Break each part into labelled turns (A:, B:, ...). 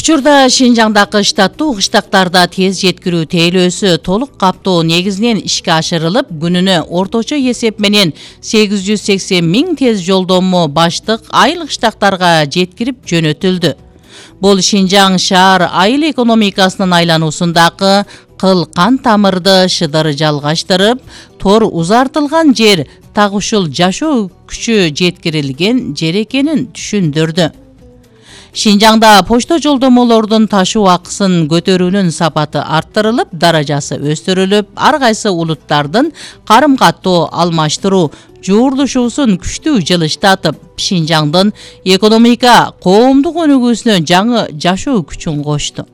A: Учурда Шинжаңдагы штаттуу кыштактарда тез жеткирүү тейлөөсү толук каптоо негизинен ишке ашырылып, күнүнө орточо эсеп менен 880 000 тез жолдомо баштык айыл кыштактарга жеткирип жөнөтүлдү. Бул Шинжаң шаар айыл экономикасынын айлануусундагы кыл кан тамырды шыдыр жалгаштырып, тор узартылган жер так ушул жашоо күчү жеткирилген жер экенин түшүндүрдү. Шинжаңда почто жолдомолордун ташуу акысын көтөрүүнүн сапаты арттырылып, даражасы өстүрүлүп, ар кайсы улуттардын карым-каттоо алмаштыруу жуурдушуусун күчтүү жылыштатып, Шинжаңдын экономика коомдук өнүгүүсүнө жаңы жашоо күчүн кошту.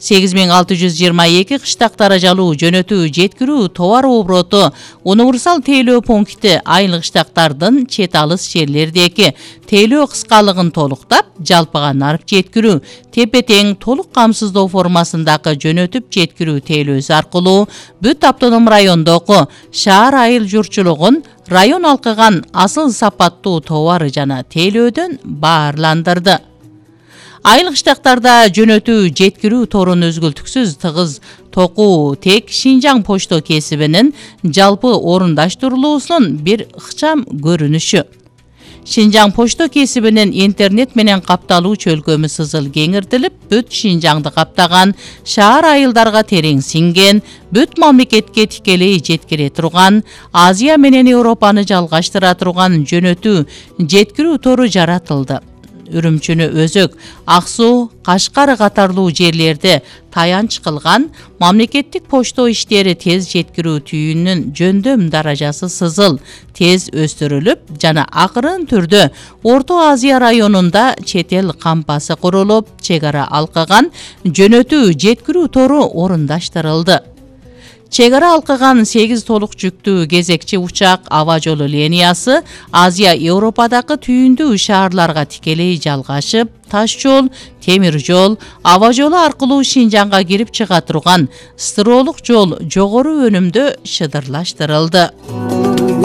A: 8622 кыштак даражалуу жөнөтүү жеткирүү товар обороту универсал тейлөө пункти айыл кыштактардын чет алыс жерлердеги тейлөө кыскалыгын толуктап, жалпыга нарып жеткирүү, тепе-тең толук камсыздоо формасындагы жөнөтүп жеткирүү тейлөөсү аркылуу бүт автоном райондогу шаар айыл журтчулугун район алкыган асыл сапаттуу товары жана тейлөөдөн баарландырды. Айыл кыштактарда жөнөтүү жеткирүү торун өзгөлтүксүз тыгыз токуу тек Шинжаң почто кесибинин жалпы орундаштырылуусунун бир ыкчам көрүнүшү. Шинжаң почто кесибинин интернет менен капталуу чөлкөмү сызыл кеңиртилип, бүт Шинжаңды каптаган, шаар айылдарга терең сиңген, бүт мамлекетке тикелей жеткире турган, Азия менен Европаны жалгаштыра турган жөнөтүү жеткирүү тору жаратылды. Үрүмчүнү Өзөк, Ак Суу, Кашкар катарлуу жерлерде таянч кылган мамлекеттик почто иштери тез жеткирүү түйүнүнүн жөндөм даражасы сызыл, тез өстүрүлүп жана акырын түрдө Орто Азия районунда чет эл кампасы курулуп, чек ара алкыган жөнөтүү жеткирүү тору орундаштырылды. Чек ара алкыган 8 толук жүктүү кезекчи учак аба жолу линиясы Азия Европадагы түйүндүү шаарларга тикелей жалгашып, таш жол, темир жол, аба жолу аркылуу Шинжаңга кирип чыга турган стыролук жол жогору өнүмдө шыдырлаштырылды.